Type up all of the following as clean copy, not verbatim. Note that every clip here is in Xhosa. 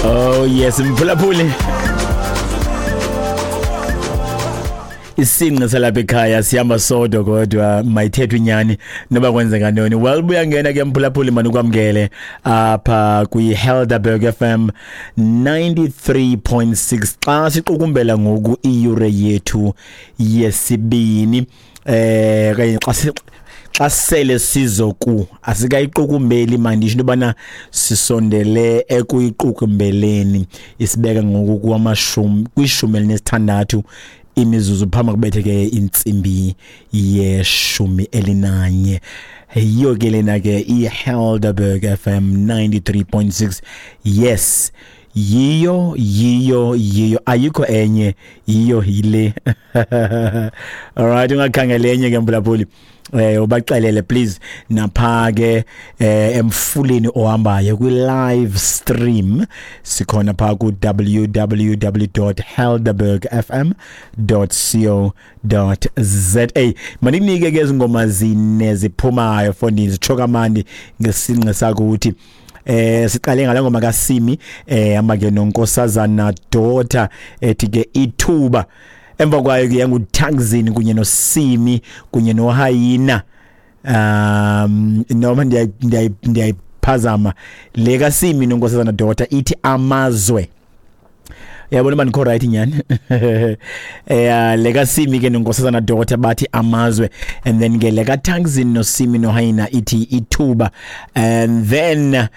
Oh yes, mphulaphuli. Isinqe salapha ekhaya sihamba sodwa, kodwa mayithethwe inyani noba kwenzeka ntoni. Well, buyangena ke mphulaphuli, manukwamkele apha kwi-Helderberg FM 93.6 xa siqukumbela ngoku iyure yethu yesibini, kanye xa sele sizoku asikayiqukumbeli, mandisho into yobana sisondele ekuyiqukumbeleni. Isibeka ngoku kwamashumi 16 imizuzu phambi kubethe ke intsimbi ye-11. Yiyo ke lena ke iHelderberg FM 93.6. Yes, yiyo, yiyo, yiyo, ayikho enye, yiyo yile. Alright, ungakhangela enye ke mphulaphuli. Ubaxelele please napha ke emfuleni ohambayo kwi live stream, sikhona pha ku www.helderbergfm.co.za. Manikunike ke izingoma zine ziphumayo fondini, zitsho kamandi ngesinqe sakuthi. Siqale ngale ngoma kaSimi hamba ke noNkosazana Daughter ethi ke Ithuba. Emva kwayo ke yanguTaxini kunye noSimi kunye noHayina. Noma ndiyayiphazama le kaSimi noNkosazana Daughter ithi Amazwe. Yabona uba ndikho right nyani. Le kaSimi ke noNkosazana Daughter bathi Amazwe, and then ke le kaTaxini noSimi noHayina ithi Ithuba, and then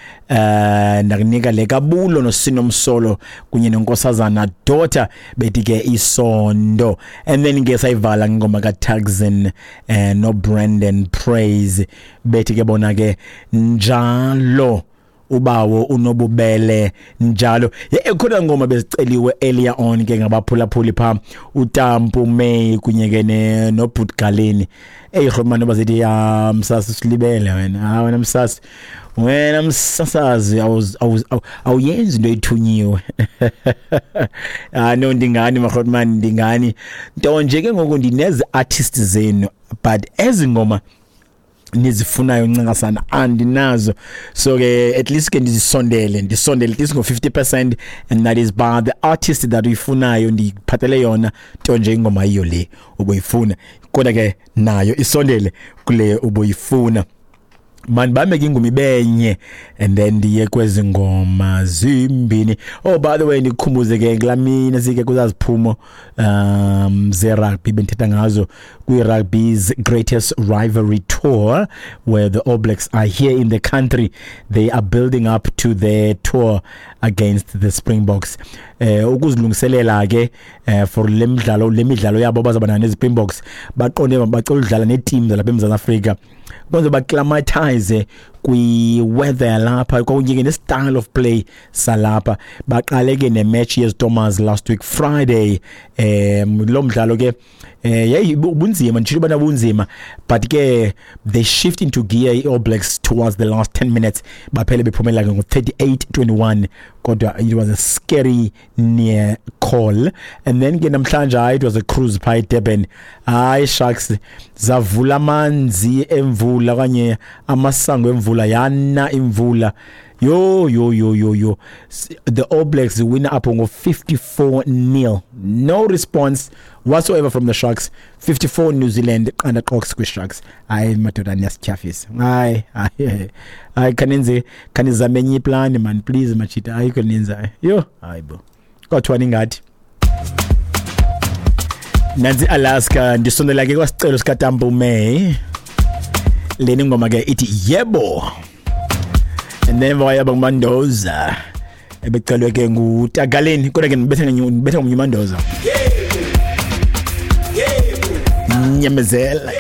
ndakunika le kaBulo noSinomsolo kunye noNkosazana Daughter bethi ke Isondo, and then ke sayivala ngoma kaTaxin no Brandon Praise bethi ke bona ke Njalo ubawo unobubele njalo. Khona ngoma beziceliwe earlier on ke ngabaphulaphuli pha, uTampu May kunye ke noBhutgaleni. Ey rhomane, bazithi ya msasi, silibele wena. Ha wena msasi, wena msasazi, awuyenzi into ethunyiwe. Ah no, ndingani marhotman, ndingani nto nje ke ngoku ndinezi artists zenu, but ezi ngoma nizifunayo ncingasana andinazo. So ke at least ke ndisondele at least ngo-50%, and that is by the artist that uyifunayo ndiphathele yona, nto nje ingoma yiyo le ubuyifuna, kodwa ke nayo isondele kule ubuyifuna. Mandibambe ke ingoma ibenye and then ndiye kwezi ngoma zimbini. Oh, by the way, ndikukhumbuze ke kulaa mini sike kuzaziphumo ze-rugby bendithetha ngazo kwi-rugby's greatest rivalry tour, where the All Blacks are here in the country. They are building up to their tour against the Springboks, ukuzilungiselela ke for le midlalo, le midlalo yabo bazaba nayo nezi-Springboks. Baqonde bacela udlala neeteam zalapha eMzantsi Afrika kwenze ba-acclimatize kwi-weather yalapha kunye ke ne-style of play salapha. Baqale ke ne-match yeZtormers last week Friday. Lo mdlalo ke yayi bunzima, nditshilo ubana bunzima, but ke they shift into gear i-All Blacks towards the last 10 minutes, baphele bephumela ke ngo-38-21, kodwa it was a scary near call. And then ke namhlanje, hayi, it was a cruise pha eDurban. Hayi, Sharks zavula amanzi emvula okanye amasango emvula, yana imvula. Yo yo yo yo yo, the All Blacks win up ngo 54-0, no response whatsoever from the Sharks. 54 New Zealand, 0 qox kwi-Sharks. Hayi madoda, niyasityhafisa. Hayi hayi hayi, khanenze, khanizame enye iplani man, please machita. Ayikho nenzayo. Yho, hayi bo, kwathiwa ningathi nansi Alaska. Ndisondela ke kwasicelo sikaTampu May, leni ngoma ke ithi Yebo, and then wayaba nguMandoza ebecelwe ke ngutagaleni, kodwa ke ndibetha ngomnye uMandoza. Nyamezela.